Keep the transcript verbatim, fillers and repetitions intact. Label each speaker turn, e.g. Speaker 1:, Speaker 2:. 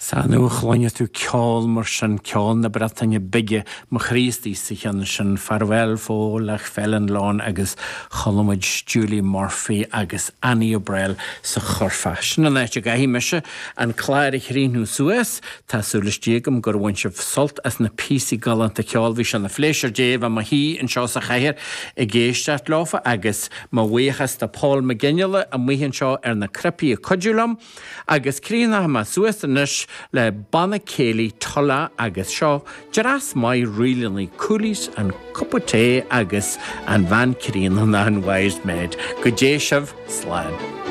Speaker 1: Sea, nuair a chluineann tú ceol mar sin, ceol na Breataine Bige, mo chroí istigh sa cheann sin, Ffarwél Ffolach Felin Lon agus chuala muid Julie Murphy agus Annie O'Brel sa churfá. Sin an áit a gcaithfidh mise an clár a chríochnú suas, Tá súil istigh agam gur bhain sibh sult as na píosaí galánta ceoil bhí sé ina phléisiúr Dé bheith i mo shuí anseo sa chathaoir ag éisteacht leofa agus mo bhuíochas do Paul McGinley amuigh anseo ar na cnaipí ag cuidiú liom, agus críochnóidh mé suas anois le banna céilí Tulla agus seo dreas maith ríleanna Coolies an cupa tae agus an bhean chríonna an wise maid. Go dté sibh slán.